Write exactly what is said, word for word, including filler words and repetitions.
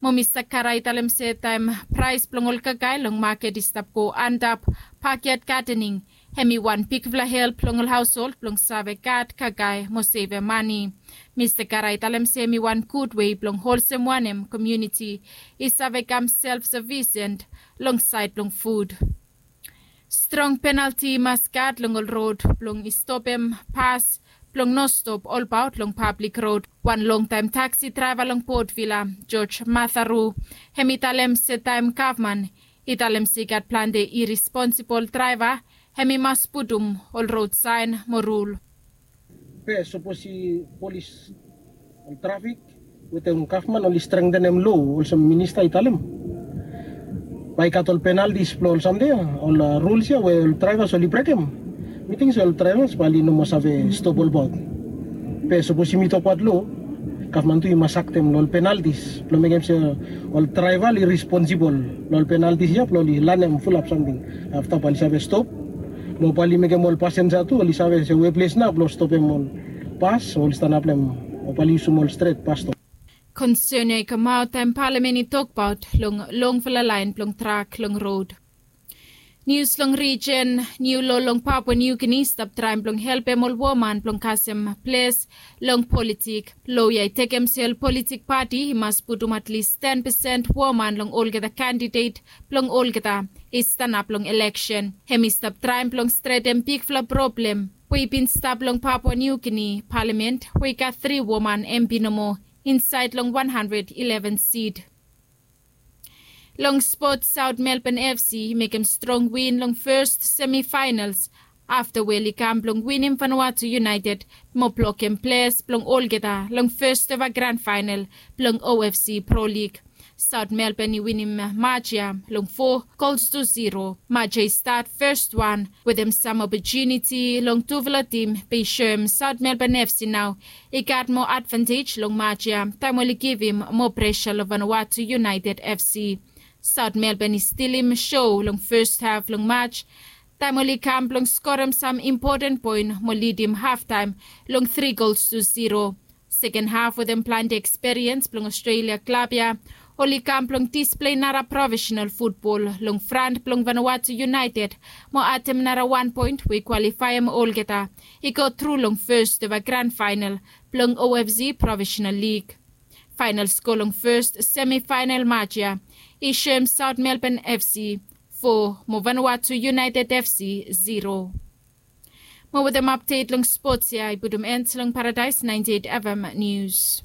Mo Mista Kara i talem se taem praes blong ol kakae long maket i stap go antap, bakyad gadening hem i wan bigfala help long ol haosold blong save gat kakae mo sevem mane. Mista Kara i talem se hem i wan gud wei blong holsem wanem komuniti i save kam self sufisent long saed blong fud. Strong penalti i mas gat long ol rod blong i stopem pas blong no stop olbaot long pablik rod. Wan longtaem taksi draeva long Port Vila, George Matharu, hem i talem se taem gavman i talem se i gat plante iresponsibol draeva, hem i mas putum ol rod saen mo rul. Be sapos i polis, ol trafik wetem gavman oli strengtenem loa olsem minista i talem, bae i gat ol penaltis blong ol samting ya, ol ruls ya we ol draevas oli brekem. Mi ting se ol draevas bae oli no moa save stop olbaot. Be sapos yumi tokbaot loa, gavman tu i mas aktem long ol penaltis blong mekem se ol draeva oli responsibol long ol penaltis ya blong oli lanem fulap samting. Afta bae oli save stop mo bae oli mekem ol pasenja tu oli save se we ples nao blong stopem ol pas o oli stanap long hem o bae oli yusum ol stret pas stop. Konsen ya i kamaot taem palamen i tokbaot long longfala laen blong trak long rod. Nius long rijen. Niu loa long Papua Niu Gini i stap traem blong helpem ol woman blong kasem ples long politik. Loa ya i tekem se ol politik pati i mas putum atlis ten pesen woman long olgeta kandidet blong olgeta i stanap long eleksen. Hem i stap traem blong stretem bigfala problem we i bin stap long Papua Niu Gini palamen we i gat tri woman empi nomo insaed long wan handred ileven sit. Long spot, Saot Melbon FC i mekem strong win long fes semifaenals afta we oli kam blong winim Vanuatu United mo blokem ples blong olgeta long fes eva gran faenal blong OFC Pro Lig. Saot Melbon i winim maj ya long fo gols tu zero. Maj ya i stat fes wan wetem sam opotuniti long tufala tim be i soem Saot Melbon FC nao i gat moa advantej long maj ya taem oli givim moa presa long Vanuatu United FC. Saot Melbon i stilim so long fes haf long maj taem oli kam blong skorem sam impoten poen mo lidim haftaem long tri gols tu zero. Seken haf wetem plante eksperiens blong Ostrelia klab ya oli kam blong displei nara profesenal futbol long fran blong Vanuatu United mo adem nara wan poen we i kwalifaem olgeta i go tru long fes eva gran faenal blong OFC Profesenal Lig. Faenal skoa long fes semifaenal maj ya i soem Saot Melbon FC fo mo Vanuatu United FC zero. Mo wetem apdet long spots ya i putum en long Paradaes naenti eit FM Nius.